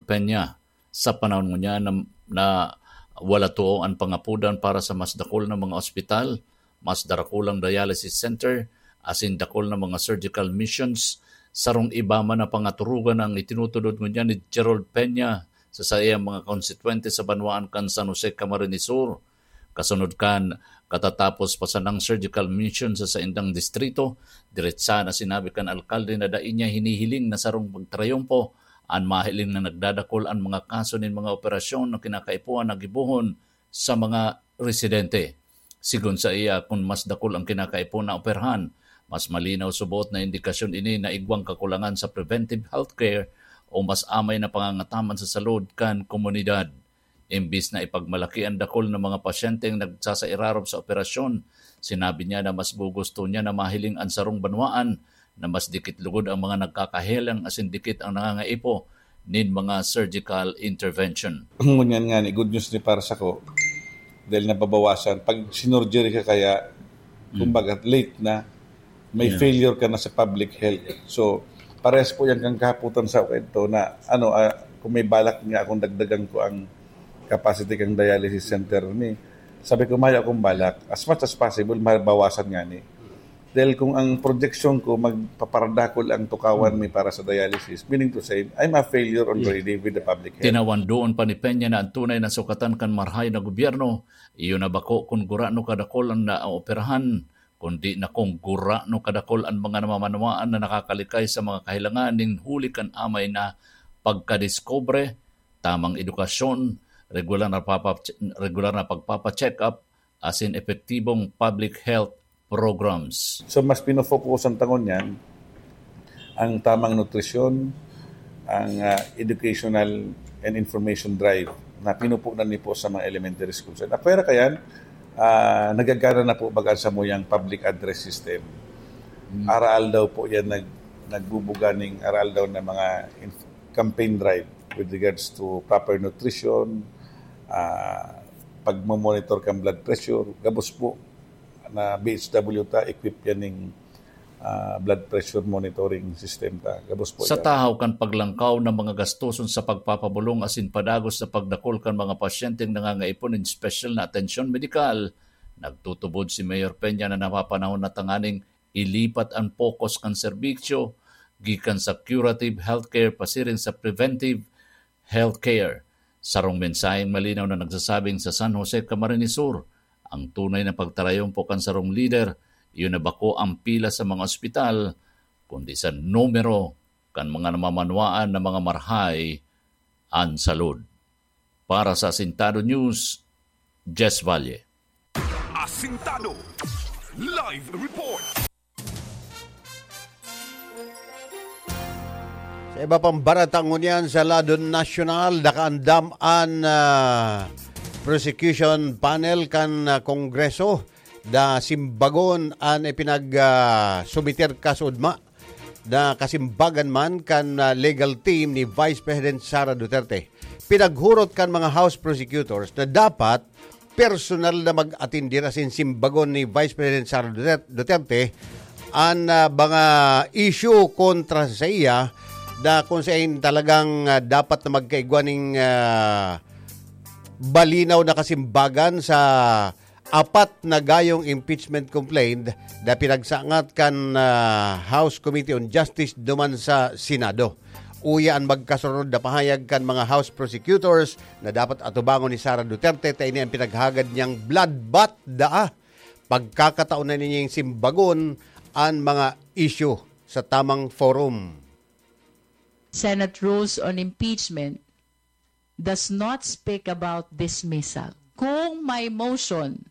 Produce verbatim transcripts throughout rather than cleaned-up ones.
Peña. Sa panahon ngunyan na, na wala tuo an pangapodan para sa mas dakul na mga ospital, mas darakulang dialysis center, asin dakul na mga surgical missions, sarong iba man na pangaturugan ang itinutudod ngunyan ni Gerald Peña sa saiyang mga konstituyente sa banwaan kan San Jose, Camarines Sur. Kasunod kan katatapos pa sanang surgical mission sa saindang distrito, diretsa na sinabi kan alkalde na dai niya hinihiling na sarong pagtrayumpo an mahiling na nagdadakul an mga kaso nin mga operasyon na kinakaipuhan na gibohon sa mga residente. Sigon sa iya, kun mas dakul ang kinakaipuhan na operahan, mas malinaw subot na indikasyon ini na igwang kakulangan sa preventive healthcare o mas amay na pangangataman sa salud kan komunidad. Imbis na ipagmalaki ang dakul na mga pasyenteng nagsasairarom sa operasyon, sinabi niya na mas gugusto niya na mahiling an sarong banwaan na mas dikit lugod ang mga nagkakahelang asin dikit ang nangangaipo nin mga surgical intervention. Ngunyan nga ni, good news ni para sako, dahil nababawasan. Pag sinurgery ka kaya, kumbaga, late na, may failure ka na sa public health. So, parehas po yan kang kahapotan sa kwento na, ano, ah, kung may balak nga akong dagdagan ko ang capacity kang dialysis center ni, sabi ko, "Maya akong balak. As much as possible, mabawasan nga ni." Dahil kung ang projection ko, magpaparadakol ang tukawan mi para sa dialysis, meaning to say, I'm a failure already with the public health. Tinawan doon pa ni Peña na ang tunay na sukatan kan marahay na gobyerno, iyo na bako kun gurano kadakol ang naooperahan, kundi na kung gurano kadakol an mga namamanwaan na nakakalikay sa mga kahilangan nin huli kan amay na pagkadiskubre, tamang edukasyon, regular na papa-, regular na pagpapa-check-up, asin epektibong public health programs. So, mas pinofokusan ta ngunyan ang tamang nutrisyon, ang, ah, educational and information drive na pinupunan ni po sa mga elementary schools. At pwera kayan, ah, nagagana na po baga sa muyang public address system. Hmm. Araal daw po yan nag-, nagbubuga ning araal daw na mga inf-, campaign drive with regards to proper nutrition, ah, pagmo-monitor kan blood pressure. Gabos po na B H W ta, equip yan ning, ah, blood pressure monitoring system ta. Gabos po Sa yan. Tahaw kan paglangkaw ng mga gastoson sa pagpapabolong asin padagos sa pagdakul kan mga pasyenteng nangangaipo nin espesyal na atensyon medikal, nagtutubod si Mayor Peña na napapanahon na tanganing ilipat ang focus kan serbisyo gikan sa curative healthcare pasiring sa preventive healthcare. Sarong mensaheng malinaw na nagsasabing sa San Jose, Camarines Sur, ang tunay na pagtarayumpo kan sarong lider, iyo na bako ang pila sa mga ospital, kundi sa numero kan mga namamanwaan na mga marahay an salud. Para sa Asintado News, Jess Valle. Asintado Live Report. Sa iba pang barata ngunyan sa lado nasyonal, nakaandam an, ah, prosecution panel kan, ah, Kongreso na simbagon an ipinag, ah, sumiter kaso ugma na kasimbagan man kan, ah, legal team ni Vice President Sara Duterte. Pinaghurot kan mga House prosecutors na dapat personal na mag-atindir asin simbagon ni Vice President Sara Duter-, Duterte an, ah, mga issue kontra sa iya na kung saan talagang, ah, dapat na magkaigwa ning, ah, balinaw na kasimbagan sa apat na gayong impeachment complaint na pinagsangat kan, ah, House Committee on Justice duman sa Senado. Uya an magkasunod na pahayag kan mga House prosecutors na dapat atubangon ni Sara Duterte ta ini an pinaghagad niyang bloodbath daa. Pagkakataon na nining simbagon an mga issue sa tamang forum. Senate rules on impeachment does not speak about dismissal. Kung may motion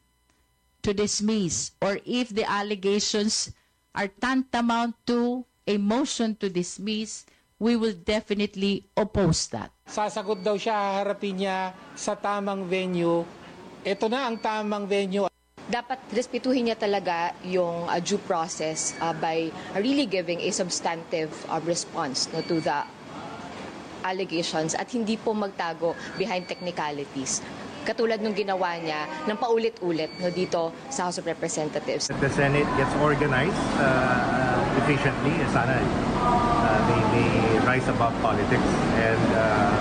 to dismiss or if the allegations are tantamount to a motion to dismiss, we will definitely oppose that. Sasagot daw siya, haharapin niya sa tamang venue. Ito na ang tamang venue. Dapat respetuhin niya talaga yung, ah, due process, ah, by really giving a substantive, ah, response, no, to the allegations at hindi po magtago behind technicalities. Katulad nung ginawa niya ng paulit-ulit, no, dito sa House of Representatives. The Senate gets organized, uh, efficiently, sana, uh, they, they rise above politics and, uh,